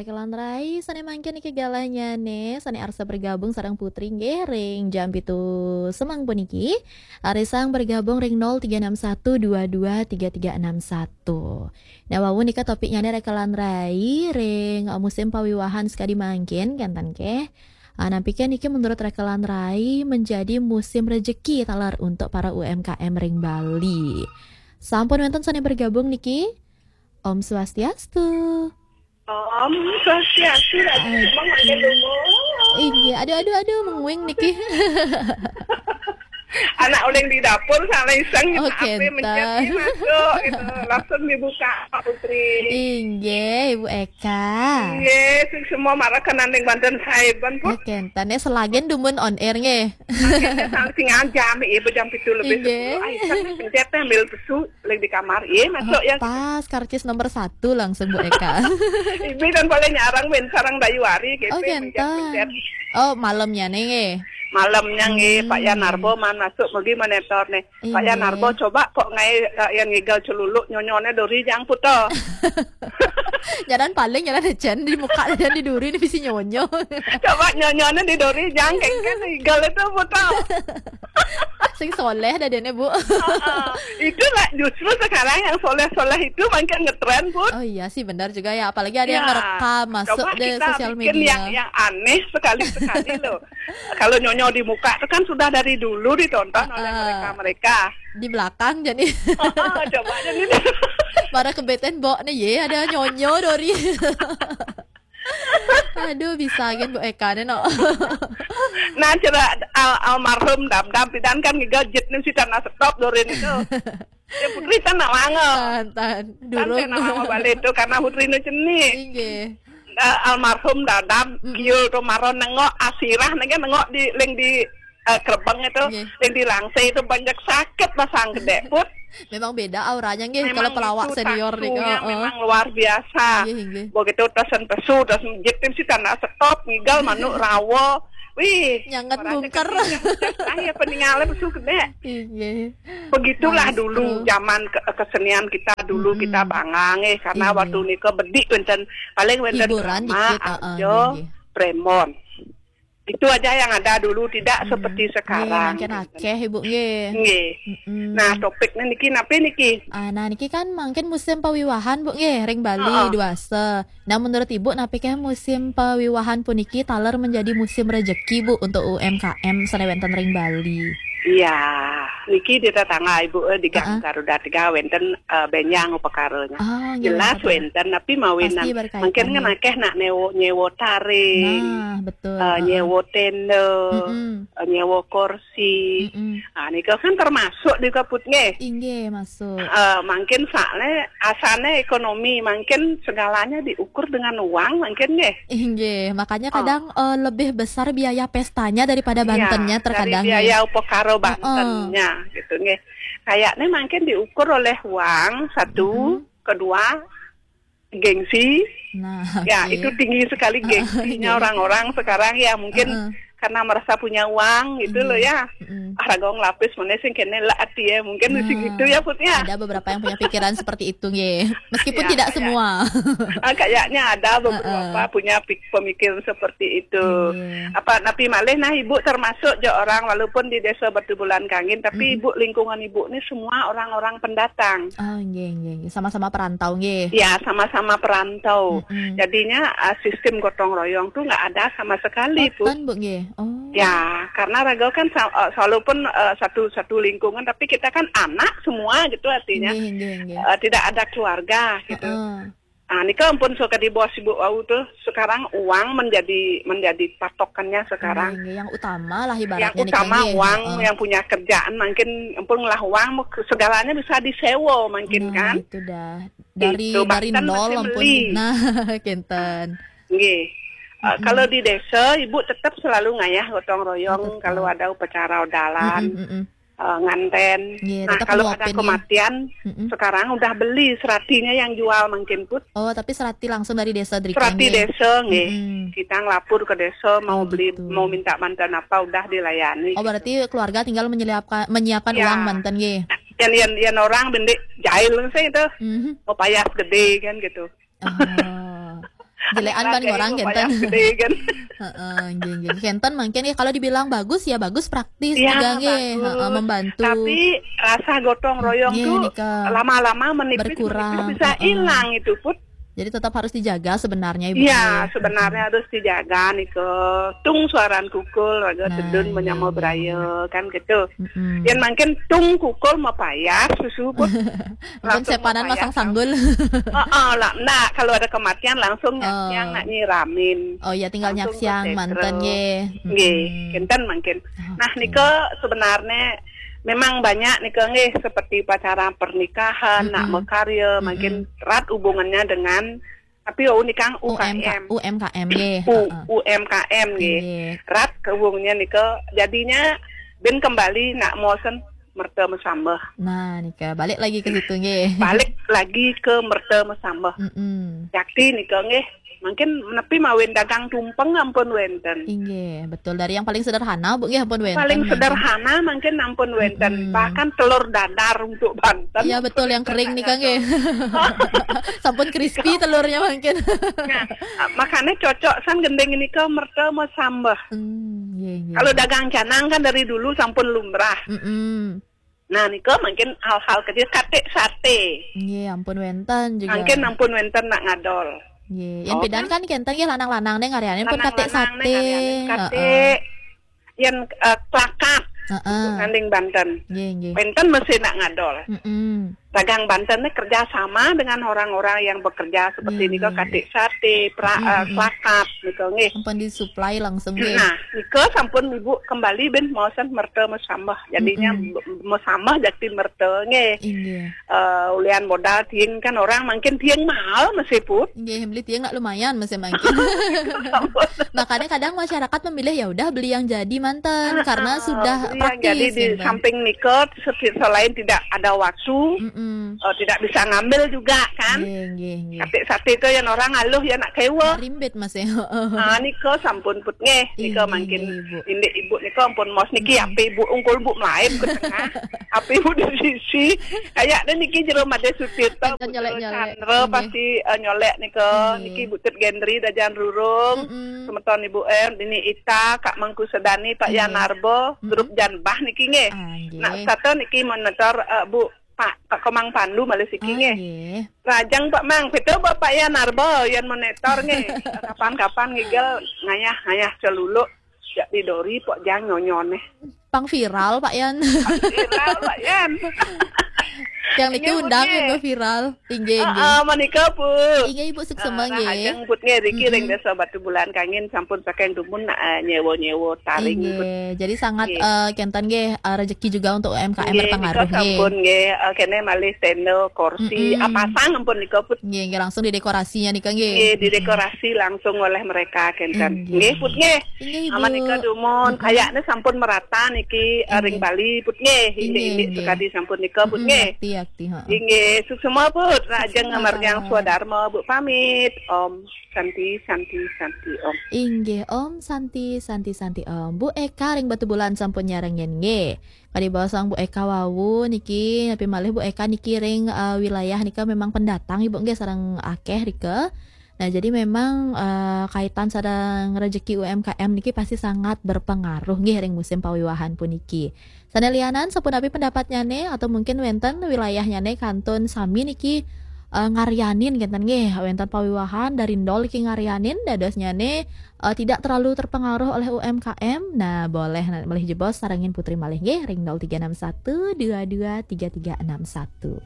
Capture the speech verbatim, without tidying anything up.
Kelan rai, sané mangkin niki galahnya né, sané arsa bergabung sareng Putri nggih ring jam pitu semeng puniki. Arisang bergabung ring nol tiga enam satu dua dua tiga tiga enam satu. Nah, wau nika topiknya né rekelan rai ring, eh, musim pawiwahan sekadi mangkin, kénten ké. Ah, napi ké niki menurut rekelan rai menjadi musim rejeki taler untuk para U M K M ring Bali. Sampun wénten sané bergabung niki. Om Swastiastu. Om Swastiastu, Ratu Ay. Semua makin dungu. Inggih, aduh, aduh, aduh, menguing niki. Anak oleng di dapur, salah iseng, Oh, ape kénten. Mencet, masuk, gitu. Langsung dibuka, Pak Putri. Inggih, Ibu Eka. Inggih, sing semua marah kenanding banten saiban, Put. Ya, kénten. Ya, selagen dumun on air, nggih. Akhirnya salah sing aja, mi, ibu jam pitu lebih Inggih. Sepuluh. Ay, kan mencet, ambil pesu. Lagi di kamar, iya, masuk ya. Pas, karcis nomor satu langsung, Bu Eka. Ibu kan boleh nyarang, men, sarang Dayu Ari, gitu, Oh, mencet, kénten. Mencet. Oh, malamnya nih, nggih. Malamnya, nggih, Pak Yan Hmm. Narbo man masuk, pergi monitor nih. Pak Yan Iya. Narbo, coba kok ngai, eh, yang ngigal celuluk, nyonyone dori jang puto. Jalan paling, jalan ejen, di muka dan di duri, ini bisi nyonyo. Coba nyonyone di dori jang, kengken igal itu puto. Sing soleh dah dene, Bu. Heeh. Itulah justru sekarang yang soleh-soleh itu makin ngetren, Put. Oh iya sih, benar juga ya. Apalagi ada yang Ya. Ngerekam masuk Coba deh kita sosial bikin media. Yang, yang aneh sekali-sekali loh. Kalau nyonyo di muka itu kan sudah dari dulu ditonton oleh Heeh. Mereka-mereka. Di belakang jadi. Heeh, coba jadi. Para kebeten bok nih, ye, ada nyonyo dori. Aduh, bisa gen Bu Eka nih, no. Nah, cerita al almarhum Dam Dam pidan kan ngigal jit nih si tanah stop dorin itu. Ya, Putri tanah lama. Tan, tan. Durung. Tanah lama balik itu karena Putri nu cenik. Inggih. Eh, almarhum Dadam, Mm-mm. Kiul tuh maron nengok asirah, nengok, nengok di, leng di, eh, kerbeng itu, Nggih. Leng di langse itu banyak sakit pasang gede, Put. Memang beda auranya, nggih, kalau pelawak itu senior nih. Tasunya heeh. Memang luar biasa. Nggih, nggih. Begitu tasen pesu, tasen jitim si tanah stop, ngigal manuk rawo. Wih, nyanget bungker. Kecil, nyanget, ah, ya, peninggalan pesu gede. Inggih. Begitulah Maestro. Dulu zaman ke-, kesenian kita dulu, mm-mm, kita bangang, eh, karena inggih. Waktu nika bedik wénten, paling wénten hiburan drama, dikit, heeh, arjo, inggih. Premon. Itu aja yang ada dulu, tidak, mm-mm, seperti sekarang. Nggih, mangkin akéh, Ibu, nggih. Nggih. Mm-mm. Nah, topiknya niki napi niki? Ah, nah, niki kan mangkin musim pawiwahan, Bu, nggih, ring Bali, heeh, duasa. Nah, menurut Ibu, napi ké musim pawiwahan puniki taler menjadi musim rejeki, Bu, untuk U M K M sané wénten ring Bali? Iya, niki di tetangga Ibu, eh, di Gang, heeh, Garuda Tiga wénten, eh, bénjang upakaranya. Oh, nggih, jelas wénten, tapi mawinan pasti berkaitan, mungkin ya. Kan akéh nak nyewa, nyewa taring, nah, betul, eh, heeh, nyewa tenda, mm-mm, eh, nyewa kursi. Mm-mm. Ah, nika kan termasuk di kaput nggih. Inggih, masuk. Eh, mungkin soalnya asalnya ekonomi, mungkin segalanya diukur dengan uang, mungkin nggih. Inggih, makanya, oh, kadang, eh, lebih besar biaya pestanya daripada, iya, bantennya terkadang, dari biaya, nggih, upakara, heeh, bantennya, gitu nggih. Kayaknya mungkin diukur oleh uang, satu, mm-mm, kedua, gengsi. Nah, ya, oke. Itu tinggi sekali gengsinya, iya, orang-orang sekarang ya, mungkin, heeh, karena merasa punya uang gitu loh, iya, ya. Mm-mm. Ah, raga nglapis manéh sing kéné lah ati ya, mungkin, nah, sing gitu ya, Put, ya. Ada beberapa yang punya pikiran seperti itu, nggih. Meskipun, ya, tidak kayak semua. Ah, kayaknya ada beberapa, heeh, punya pik-, pemikiran seperti itu. Iya. Apa, napi malih, nah, Ibu termasuk jo orang, walaupun di Desa Batubulan Kangin, tapi, mm-mm, Ibu, lingkungan Ibu ini semua orang-orang pendatang. Oh, nggih, nggih, nggih. Sama-sama perantau, nggih. Ya, sama-sama perantau. Mm-mm. Jadinya, eh, sistem gotong royong tuh nggak ada sama sekali, oh, Bu. Ten, Bu, nggih. Oh. Ya, karena raga kan sa-, eh, walaupun, eh, satu, satu lingkungan, tapi kita kan anak semua gitu artinya. Nggih, nggih, nggih. Eh, tidak ada keluarga gitu. Heeh. Ah, nika ampun suka di bos Ibu wau tuh. Sekarang uang menjadi, menjadi patokannya sekarang. Nggih, nggih. Yang utama lah ibaratnya nika, nggih. Yang utama uang, heeh, yang punya kerjaan mungkin ampun lah uang, segalanya bisa disewa mungkin, nah, kan? Itu dah. Dari, itu, dari bahkan nol masih ampun. Beli. Nah, kénten. Nggih. Eh, mm-mm, kalau di desa, Ibu tetap selalu ngayah gotong royong, oh, tetap, kalau ada upacara odalan. Mm-mm, mm-mm. Eh, nganten. Iya, nah, tetap kalau ada nyuapin, ya. Kematian, mm-mm, sekarang udah beli seratinya yang jual mungkin, Put. Oh, tapi serati langsung dari desa, Drika, serati nggih? Desa, nggih. Mm-mm. Kita ngelapor ke desa, mau, oh, beli, gitu, mau minta bantuan apa, udah dilayani, oh, gitu. Berarti keluarga tinggal menyeliapka-, menyiapkan, ya, uang banten, nggih? Yang, yang, yang orang bendik jahil sih itu. Mhm. Mau payah gede kan gitu. Oh. Jelekan ban orang kenten. Heeh, nggih, nggih. Kenten mangkin ya, kalau dibilang bagus ya bagus, praktis. Ya, juga nggih. Heeh, membantu. Tapi rasa gotong royong tuh lama-lama menipis, berkurang, menipis, bisa hilang itu, Put. Jadi tetap harus dijaga sebenarnya, Ibu. Iya, sebenarnya harus dijaga nih ke tung suaran kukul, raga tedun menyama beraya, kan gitu. Yang mangkin tung kukul mapayas susu, Put. Mungkin sepanan masang sanggul. Oh, oh, lah, nah, kalau ada kematian langsung nyaksiang nak nyiramin. Oh ya, tinggal nyaksiang manten nggih. Nggih, kenten mangkin. Nah, nika sebenarnya memang banyak nika nggih, seperti upacara pernikahan, nak makarya, mungkin erat hubungannya dengan, tapi oh, nika U K M. U M K M nggih. U-, U M K M nggih. Erat hubungannya nika. Jadinya ben kembali nak mosen merta mesambah. Nah, nika balik lagi ke situ nggih. Balik lagi ke merta mesambah. Jakti nika nggih. Mungkin nepi mawin dagang tumpeng ampun wenten. Inggih, betul. Dari yang paling sederhana, Bu, nggih, ampun wenten. Paling sederhana mungkin ampun wenten. Bahkan telur dadar untuk banten. Iya, betul, yang kering nika nggih. Sampun crispy telurnya mungkin. Nah, makanya cocok san gending nika merta mesambah. Hmm, nggih, nggih. Kalau dagang canang kan dari dulu sampun lumrah. Nah, nika mungkin hal-hal kecil, katik sate. Nggih, ampun wenten juga. Mungkin ampun wenten nak ngadol. Nggih, yang pidan kan kenten nggih, lanang-lanang nih ngaryanin pun katik sate. Katik, yen, eh, klakat. Heeh. Nanding banten. Nggih, nggih. Wenten mesti nak ngadol. Dagang banten nih kerja sama dengan orang-orang yang bekerja seperti nika, katik sate, pra-, eh, klakat nika nggih. Sampun disuplai langsung nggih. Nah, nika sampun Ibu kembali ben maosan merta mesambah. Jadinya mesambah jakti merta nggih. Inggih. Eh, ulian modal tiing kan orang mungkin tiing mahal masih, Put. Nggih, beli tiing nak lumayan masih mungkin. Makanya kadang masyarakat memilih ya udah beli yang jadi manten karena sudah praktis. Jadi di samping nika, selain tidak ada waktu, eh, tidak bisa ngambil juga kan. Nggih, nggih, nggih. Katik sate itu yang orang aluh ya nak kewa. Rimbit masih. Ah, nika sampun, Put nggih. Nika mungkin indik Ibu nika ampun mos niki, ape Ibu ungkul Bu melaib ke tengah. Ape Ibu di sisi. Kayaknya niki jero Made Sutirta, Bu Chandra pasti, eh, nyolek nika. Niki Bu Tut Gendri Dajan Rurung. Semeton Ibu M, Dini Ita, Kak Mangku Sedani, Pak Yan Narbo, grup Janbah niki nggih. Nak satu niki monitor, eh, Bu Pak, Pak Komang Pandu malih siki nggih. Rajang Pak Mang, betul Bapak Yan Narbo, Yan monitor nggih. Kapan-kapan ngigel ngayah-ngayah celuluk. Jak didori pok jang nyonyon nih. Pang viral, Pak Yan. Viral, Pak Yan. Yang niki undang itu viral. Inggih, inggih. Heeh, menika, Bu. Inggih, Ibu, suksema nggih. Ajeng, Put nggih, riki ring Desa Batu Bulan Kangin sampun saking dumun nak, eh, nyewa-nyewa taring, Put. Inggih. Jadi sangat, eh, kenten nggih, eh, rezeki juga untuk U M K M berpengaruh nggih. Sampun nggih, eh, kene malih tenda, kursi, ah, pasang ampun nika, Put. Nggih, nggih, langsung didekorasinya nika nggih. Nggih, didekorasi langsung oleh mereka kenten. Inggih. Nggih, Put nggih. Inggih, Ibu. Aman nika dumun, kayaknya sampun merata niki, eh, ring Bali, Put nggih. Inggih, inggih, sekadi sampun nika, Put nggih. Yakti, yakti, heeh. Inggih, suksema, Put. Rajeng ngamargiang swadarma, Bu pamit. Om Santi, Santi, Santi, Om. Inggih, Om Santi, Santi, Santi, Om. Bu Eka ring Batubulan sampun nyarengin nggih. Kadi basa Bu Eka wau niki, tapi malih Bu Eka niki ring, eh, wilayah nika memang pendatang Ibu nggih, sareng akeh rika. Nah, jadi memang, eh, kaitan sareng rejeki U M K M niki pasti sangat berpengaruh nggih ring musim pawiwahan puniki. Sane lianan, sapunapi pendapatnyane atau mungkin wenten wilayahnyane kantun sami niki, eh, ngaryanin kenten nggih, wenten pawiwahan dari nol niki ngaryanin, dadosnyane, eh, tidak terlalu terpengaruh oleh U M K M. Nah, boleh na-, malih jebos sarengin Putri malih nggih ring nol tiga enam satu dua dua tiga tiga enam satu.